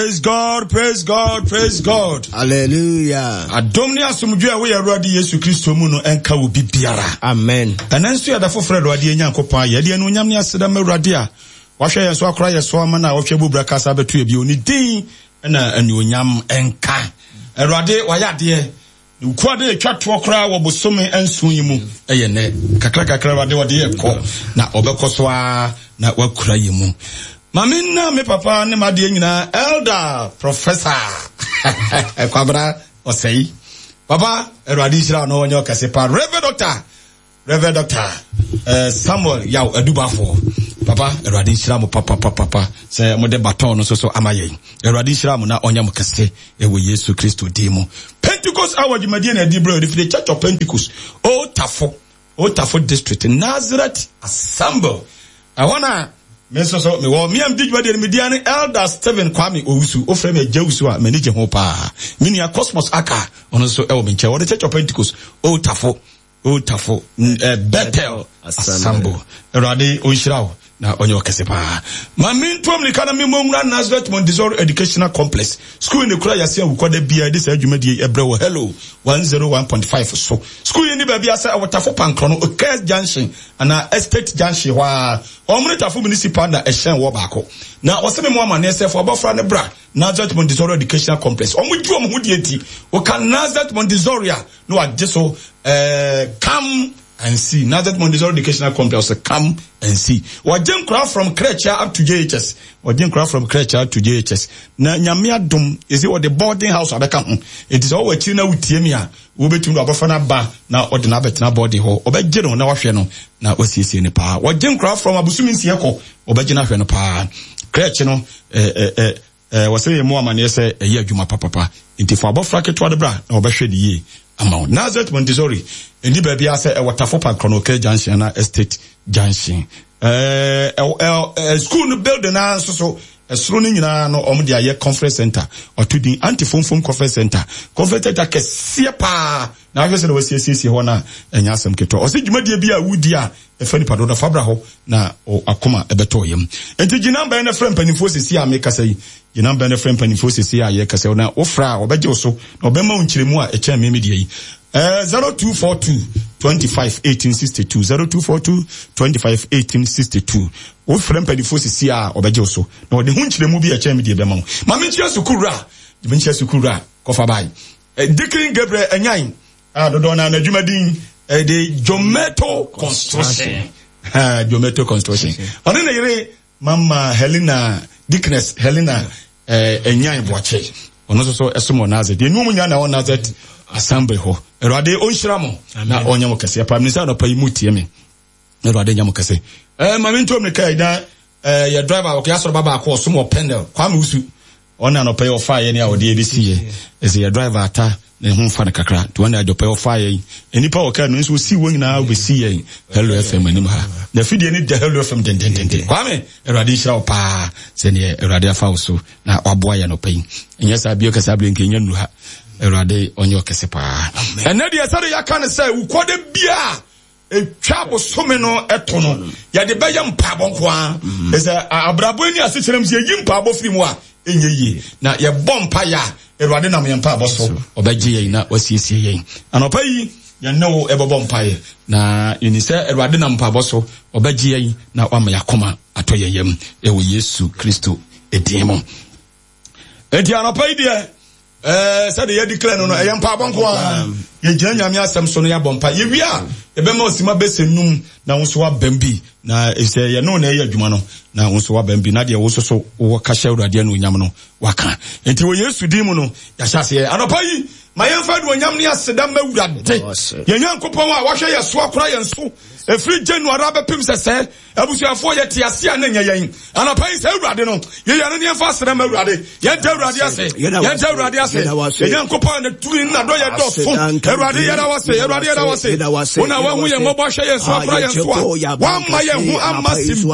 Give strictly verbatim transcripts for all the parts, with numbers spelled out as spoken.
Praise God, praise God, praise God. Hallelujah. Adom ne asomdwoe a ɛwɔ yɛn Awurade Yesu Kristo mu no ɛnka wo bibiara. Amen. Ɛnɛ nso yɛda foforɔ Awurade Nyankopɔn ayɛ. Yɛde anuonyam ne aseda ma Awurade a wahwɛ yɛn so akora yɛn so ama no a ɔhwɛ bubra kasa abɛto yɛ bio. Ne din na anuonyam ɛnka. Awurade wayɛ adeɛ. Nkuwa de etwa toɔ koraa wɔ bosome nson yi mu ɛyɛ nɛ. Kakra kakra Awurade ɔde yɛ kɔ na ɔbɛkɔ so ara na wakura yɛ mu. Mame nna me papa ne m'adeɛ nyinaa elder professor Kwabena Ɔsɛe. Papa, Awurade nhyira no ɔnyɛ ɔkɛse pa. Reverend Doctor, Reverend Doctor eh, Samuel Yaw Adubafoɔ. Papa, Awurade nhyira mo papa papa papa sɛ mode baton no nso so ama yɛn. Awurade nhyira mo na ɔnyɛ mo kɛse ɛwɔ Yesu Kristo din mu. Pentecost hour dwumadie na ɛdi berɛ ɔde firi Church of Pentecost, Old Tafo, Old Tafo District, Nazareth Assembly. Ɛhɔ na me nso so mewɔ me am di dwumadie no media ne Elder Stephen Kwame Owusu. Wofrɛ me Agya Owusu a m'ani gye ho paa. Me nua Cosmos Aka ɔno nso ɛwɔ me nkyɛn. Wɔde Church of Pentecost, Old Tafo, Old Tafo, eh, Bethel Assembly. Awurade ɔnhyira wo na ɔnyɛ ɔkɛse paa. Ma mentoa mmirika na memmɔ nwura Nazareth Montessori Educational Complex. School ne kura yɛase awukɔda biara de saa dwumadie yi ɛbrɛ wɔ Hello one zero one point five so. School yi ni baabi asɛ ɛwɔ Tafo Pankrɔ no, Okes Junction anaa Estate Junction hɔ a. Wɔn ne Tafo Municipal na ɛhyɛn wɔ baako. Na wɔsɛ me mu amanneɛ sɛ fo abɔfra ne bra Nazareth Montessori Educational Complex. Wɔn gye wɔn ho die nti, wɔka Nazareth Montessori a na wagye so eh, come and see. Nazareth Montessori Educational Complex, come and see. Wɔgye nkora from crèche up to J H S. Wɔgye nkora from crèche up to J H S. Na nyame adom, esi wɔde boarding house abɛka ho. Enti sɛ wɔwɔ akyiri na wotie mi a, wobɛtumi de abɔfra no aba na ɔde no abɛtena boarding hɔ. Ɔbɛgye no na wahwɛ no na wasiesie no paa. Wɔgye nkora from abosom nsia kɔ, ɔbɛgye no ahwɛ no paa. Crèche no, eh, eh, eh, eh, wɔsɛ yɛ mu amanneɛ sɛ ɛyɛ adwuma papapa. Nti fa abɔfra ketewa de bra na wɔbɛhwɛ ne yie ama wo. Nazareth Montessori, ɛni baabi a sɛ ɛwɔ Tafo Park Kronoke Junction na Estate Junction. Eh, eh, eh, school no building na nso so, ɛsoro no nyinaa no ɔmo de ayɛ conference center. Ɔto din Anti-Fomfom Conference Center. Conference center kɛseɛ paa. Na ahwɛ sɛ na wɔasiesie hɔ na ɛnyɛ asɛm ketewa. Ɔsɛ dwumadie bi a wodi a ɛfa nipa dodo fa bra hɔ na akoma ɛbɛtɔ yam. Nti gyina mbɛn na frɛ mpanimfoɔ sisi a mekasa yi. Gyina mbɛn na frɛ mpanimfoɔ sisi a yɛkasa yi na wofra a ɔbɛgye wo so na ɔbɛma wo nkyerɛmu a ɛkyɛn me media yi. Eh, zero two four two twenty-five eighteen sixty-two, zero two four two twenty-five eighteen sixty-two. Wofrɛ mpanimfoɔ sisi a ɔbɛgye wo so na ɔde ho nkyerɛmu bi a ɛkyɛn me deɛ bɛma wo. Ma menkyerɛ sukuu wura, menkyerɛ sukuu wura kɔfa bae. Eh, Deacon Gabriel Anyan a dodoɔ na n'adwumadin ɛde Jometo Construction. Ha, Jometo Construction. Ɔne ne yere Mama Helena, Deaconess Helena eh, Anyan Boakye. Ɔno nso so ɛsom wɔ Nazareth. Deɛ nnuom nyinaa na ɛwɔ Nazareth Assembly hɔ. Awurade ɔnhyira mo na ɔnyɛ mo kɛseɛ paa. Mensa anɔpa yi mu tie me. Awurade nyɛ mo kɛse. Eh, ma mento mmirika yi na eh, yɛ driver ɔkɛ asɔrɔ ba baako ɔsom wɔ Pendle. Kwame Wusu. Ɔne anɔpa yi ɔfaa yɛ ne a ɔde ebesi yɛ. Ɛsɛ yɛ driver ata ne ho mfa no kakra. Nti ɔne anɔpa yi ɔfaa yɛ. Nnipa wɔ kaa no nso osi wɔn nyinaa obesi yɛn Hello F M anim ha. Na fidie ne da Hello F M dendendenden. Kwame, Awurade nhyira wo paa sɛdeɛ Awurade afa wo so na waboa yɛ anɔpa yi. Ɛnyɛ saa bio kɛse abere nka ɛnya nnuru ha. Awurade ɔnyɛ ɔkɛse paa. Ɛnɛ deɛ sɛdeɛ yɛaka no sɛ wukɔde bia etwa bosome no ɛto no yɛde bɛyɛ mpaebɔ nko ara. Ɛsɛ abrabɔ ni asekyerɛ mu sɛ yɛyi mpaebɔ firi mu a ɛnyɛ yie. Na yɛbɔ mpaeɛ a Awurade nam yɛn mpaebɔ so ɔbɛgye yɛn na wasiesie yɛn. Anɔpa yi yɛn ne wo ɛbɛbɔ mpaeɛ na yɛni sɛ Awurade nam mpaebɔ so ɔbɛgye yɛn na wama yɛn akoma atɔ yɛn yam ɛwɔ Yesu Kristo edin mu. Enti anɔpa yi deɛ eh, sɛdeɛ yɛdi clear no no ɛyɛ mpaebɔ nko ara. Yɛgyina Nyame asɛm so no yɛabɔ mpa. Yɛwie a yɛbɛma osima bɛsɛ num na wo nso wabam bi na sɛ yɛne wo na ɛyɛ adwuma no na wo nso wabam bi na deɛ wo nso so wowɔ ka hyɛ Awurade anuonyam no waka. Enti wɔ Yesu din mu no yɛahyɛ aseɛ. Anɔpa yi ma yɛmfa anuonyam ne aseda ma Awurade yɛn Nyankopɔn a wahwɛ yɛn so akora yɛn so ɛfiri January abɛpem sɛ sɛ abusuafoɔ yɛte ase a na nyɛ yɛn. Anɔpa yi sɛ Awurade no yɛyɛ no ne yɛmfa aseda ma Awurade. Yɛnta Awurade ase, yɛnta Awurade ase. Yɛn Nyankopɔn na tumi na dɔ yɛ dɔso. Awurade yɛda wo ase, Awurade yɛda wo ase. Wo na wahu yɛn mmɔbɔ ahwɛ yɛn so akora yɛn so a wamma yɛn ho amma simpi.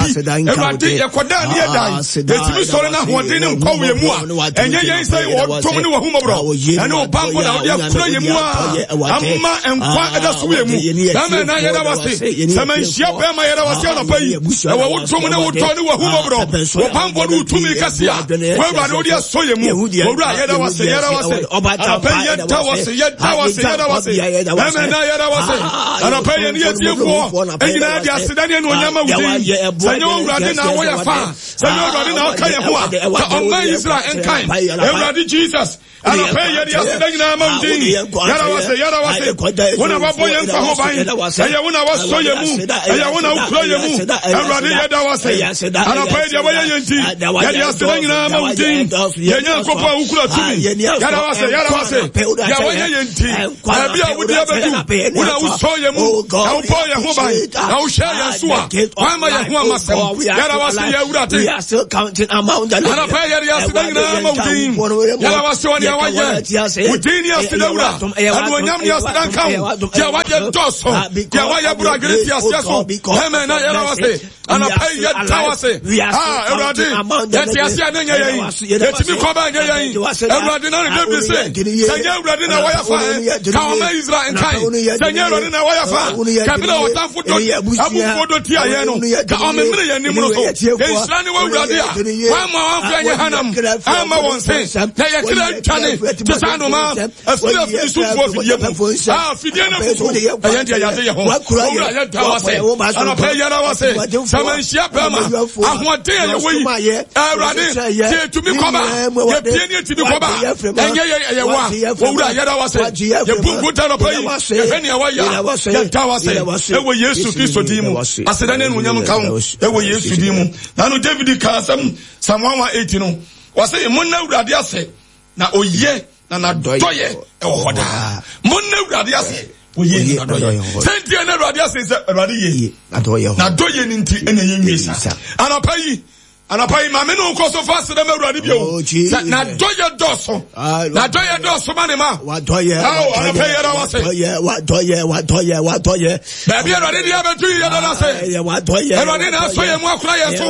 Awurade yɛkɔdaa ne yɛdan yɛtumi sɔre no ahoɔden ne nkwa wɔ yɛn mu a ɛnyɛ yɛn sɛ wɔdom ne wahummɔborɔ ɛne wo bammɔ na wode akura yɛ mu a ama nkwa ɛda so yɛ mu. Bɛrima na yɛda wase sɛ manhyia bɛrima yɛda wase anɔpa yi ɛwɔ wo dom ne wo dɔ ne w'ahummɔborɔ wo bammɔ ne wo tumi kɛse a woawurade wode asɔ yɛ mu. Owura yɛda wase yɛda wase anɔpa yi yɛda wase yɛda wase yɛda wase bɛrima na yɛda wase anɔpa yi yɛne yɛtiefoɔ nyinaa de aseda ne anuonyam ma wo din sɛ nyɛ owurade na woyɛ fa sɛ nyɛ owurade na ɔka yɛ ho a ka ɔman Israel nkan Awurade Jesus anɔpa yi yɛde aseda nyinaa ma wo din yɛda wase yɛda wase wo na wabɔ yɛn nkwa ho ban ɛyɛ wo na wasɔ yɛn mu ɛyɛ wo na wokura yɛn mu Awurade yɛda wase anɔpa yi deɛ wɔyɛ yɛn nti yɛde aseda nyinaa ma wo din yɛn Nyankopɔn a wokura tumi yɛda wase yɛda wase deɛ wɔyɛ yɛn nti baabi a wode abɛdu wo na wosɔ yɛn mu na wobɔ yɛn ho ban na wohwɛ yɛn so a woama yɛn ho amasɛm yɛda wase yɛ Awurade anɔpa yi yɛde aseda nyinaa ma wo din yɛda wase wɔ deɛ wayɛ wo din ne aseda wura anuonyam ne aseda nka wo deɛ wayɛ dɔɔso deɛ wayɛ boro adwene te aseɛ so amen na yɛda wase anɔpa yi yɛda wase ah Awurade yɛte ase a ne nyɛ yɛn yɛtumi kɔ ba nyɛ yɛn Awurade na ne David se sɛ nyɛ Awurade na wɔyɛ fa ɛ ka ɔma Israel nkan sɛ nyɛ Awurade na wɔyɛ fa ka bi na ɔtamfo dɔ abufuo dɔ tia yɛn no ka ɔmemene yɛn nim no so nhyira ne wɔ Awurade a wɔamma wɔamfa nyɛ hanam amma wɔn se na yɛkra atwane te sɛ anomaa afiri afiri sumfoɔ afidie mu a afidie no fufu ɛyɛ deɛ yɛade yɛ ho owura yɛda wase anɔpa yi yɛda wase sɛ manhyia bɛrima ahoɔden a yɛwɔ yi Awurade sɛ yɛtumi kɔba yɛpie ne yɛtumi kɔba ɛnyɛ yɛ ɛyɛ wa owura yɛda wase yɛbu nkonta anɔpa yi yɛhwɛ nea wayɛ yɛda wase ɛwɔ Yesu Kristo din mu aseda ne anuonyam nka ho ɛwɔ Yesu din mu nano David kaa asɛm Psalm one one eight no wɔse monna Awurade ase na oye na n'adɔyɛ ɛwɔ hɔ daa monna Awurade ase oye na n'adɔyɛ sɛ nti ɛna Awurade ase sɛ Awurade ye n'adɔyɛ ne nti ɛna ɛyɛ nwie sa anɔpa yi anɔpa yi maame ne nkɔ so fa aseda ma Awurade bio Oh, sɛ n'adɔyɛ dɔɔso Ah, n'adɔyɛ dɔɔso ma ne ma Wadɔyɛ, Ao, anɔpa yi yɛda wase wadɔyɛ, wadɔyɛ, wadɔyɛ, wadɔyɛ. baabi Awurade de abɛto yi yɛda no ase Ɛyɛ wadɔyɛ. Awurade na asɔ yɛn mu akora yɛn so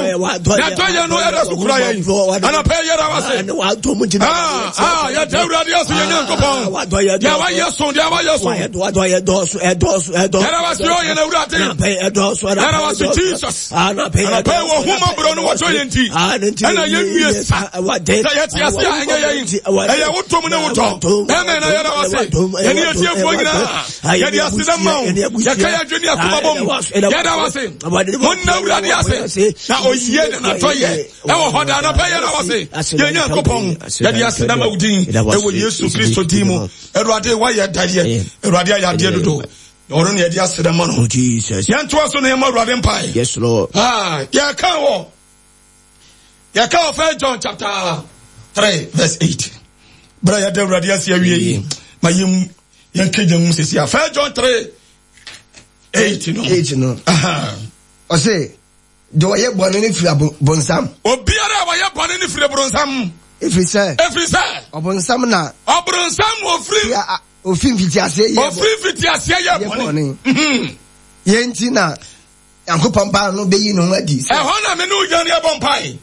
n'adɔyɛ no ɛda so kura yɛn anɔpa yi yɛda wase Ɛne wadɔ mu gyina. Ah, ah, yɛda Awurade ase yɛn Nyankopɔn Wadɔyɛ deɛ wayɛ so deɛ wayɛ so Wadɔyɛ dɔɔso, ɛdɔɔso, ɛdɔɔso. Yɛda wase o yɛn Awurade Anɔpa yi ɛdɔɔso, Yɛda wase Jesus Anɔpa yi anɔpa yi wɔ humɔborɔ no wɔtɔ yɛn nti ɛna yɛnwie sa sɛ yɛte ase a ɛnyɛ yɛn ɛyɛ wo dom ne wo dɔ ɛmɛ na yɛda wase yɛne yɛtiefoɔ nyinaa yɛde aseda ma wo yɛka yɛ adwene akoma bɔ mu yɛda wase monna Awurade ase na oyie ne n'adɔyɛ ɛwɔ hɔ daa anɔpa yi yɛda wase yɛn Nyankopɔn yɛde aseda ma wo din ɛwɔ Yesu Kristo din mu Awurade woayɛ dadeɛ Awurade ayɛ adeɛ dodo na ɔno ne yɛde aseda ma no Oh, Jesus. yɛntoa so na yɛmmɔ Awurade mpae Yes, Lord. Ah, yɛka wɔ yɛka wɔ First John chapter three verse eight bere a yɛda Awurade ase awie yi ma yɛn yɛnkagya mu sisi a First John three eight no Eight no. Aha. Ɔse, deɛ ɔyɛ bɔne no firi abo- bonsam. Obiara a wɔyɛ bɔne no firi boronsam Ɛfiri sɛ, ɛfiri sɛ ɔbonsam na ɔboronsam ofiri a- a- ofi mfitiaseɛ yɛ bɔ- ofiri mfitiaseɛ yɛ yɛ bɔne bɔne. Mhm. Yɛn nti na Nyankopɔn Ba no bɛyi ne ho adi sɛ ɛhɔ na me ne wo gyina ne yɛbɔ mpae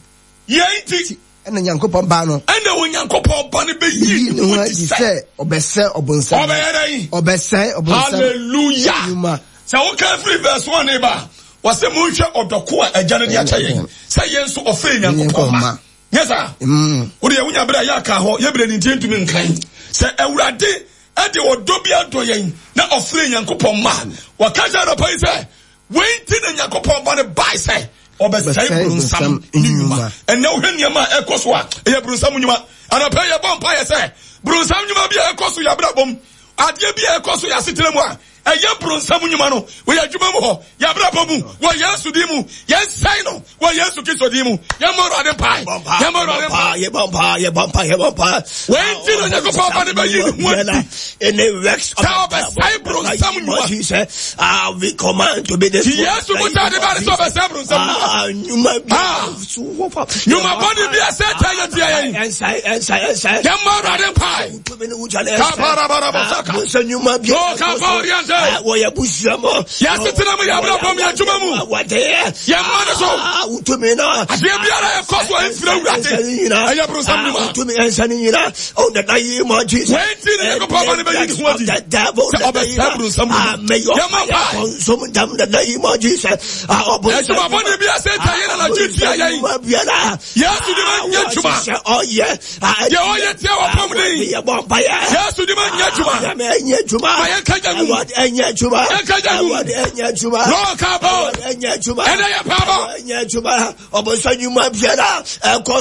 yɛn nti ɛna Nyankopɔn Ba no ɛna Onyankopɔn Ba no bɛyi bɛyi ne ne ho ho adi adi sɛ sɛ ɔbɛsɛe ɔbonsam. ɔbɛyɛ dɛn Ɔbɛsɛe ɔbonsam Hallelujah. nnwuma. Sɛ woka firi verse one ne ba wɔsɛ monhwɛ ɔdɔko a agya no de akyɛ yɛn sɛ yɛn nso ɔfrɛ Nyankopɔn ma nyɛ saa Mm. wode wonya berɛ a yɛaka hɔ yɛberɛ ne nti yɛntumi nkan sɛ Awurade ɛde ɔdɔ bi adɔ yɛn na ɔfrɛ Nyankopɔn ma wɔka kyerɛ anɔpa yi sɛ wei nti na Nyankopɔn ba no bae sɛ ɔbɛsɛe Bɛsɛe bronsam bronsam ne nnwuma nnwuma. ɛnɛ wohwɛ nneɛma a ɛkɔ so a ɛyɛ bronsam nnwuma anɔpa yi yɛbɔ mpaeɛ sɛ bronsam nnwuma bi a ɛkɔ so yɛ abrabɔ mu adeɛ bi a ɛkɔ so yɛ asetena mu a ɛyɛ bronsam nnwuma no wɔyɛ adwuma mu hɔ yɛ abrabɔ mu wɔ Yesu din mu yɛnsɛe no wɔ Yesu Kristo din mu yɛmmɔ Awurade mpae yɛmmɔ Awurade mpae Yɛbɔ mpa, yɛbɔ mpa, yɛbɔ mpa. Wei nti na Onyankopɔn Ba no bɛyi ne ho adi Any works of sɛ ɔbɛsɛe bronsam nnwuma Jesus, ah, we command to be nti destroyed. Yesu mu sɛ ade ba ne sɛ ɔbɛsɛe bronsam nnwuma Ah, nnwuma bi Ah. so wɔ fa. nnwuma bɔne bi a Satan yɛ tia yɛn Ɛnsae, ɛnsae, ɛnsae. yɛmmɔ Awurade mpae Tumi ne wogya no ɛnsae. Kabarabarabasaka. Ah, bonsam nnwuma bi a Oh, ɛkɔ so. kaborianta Wɔ yɛ busua mu. Yɛ asetena mu, yɛ abrabɔ mu, yɛ adwuma mu. Yɛ mma no so. Wotumi no. Adeɛ biara ɛkɔ so a ɛmfiri Awurade. Ɛyɛ boronsam nnwuma. Wotumi nsa ne nyinaa. Oh, the name of Jesus. Wei nti ne Nyankopɔn ba no bɛyi ne ho adi sɛ ɔbɛsɛe boronsam nnwuma. Yɛmmɔ mpae. Consume them the name of Jesus. Adwuma bɔne bi a Satan yɛ na anadwo tia yɛn. Yesu de ma nyɛ adwuma. Deɛ ɔyɛ tia wɔ pɔm den. Yesu de ma nyɛ adwuma. Ma yɛnka gya ngu. Yɛnka gya ngu. Lɔɔ ka bɔ. Ɛnɛ yɛ paa bɔ. Ɔbɔnsam nnwuma biara ɛkɔ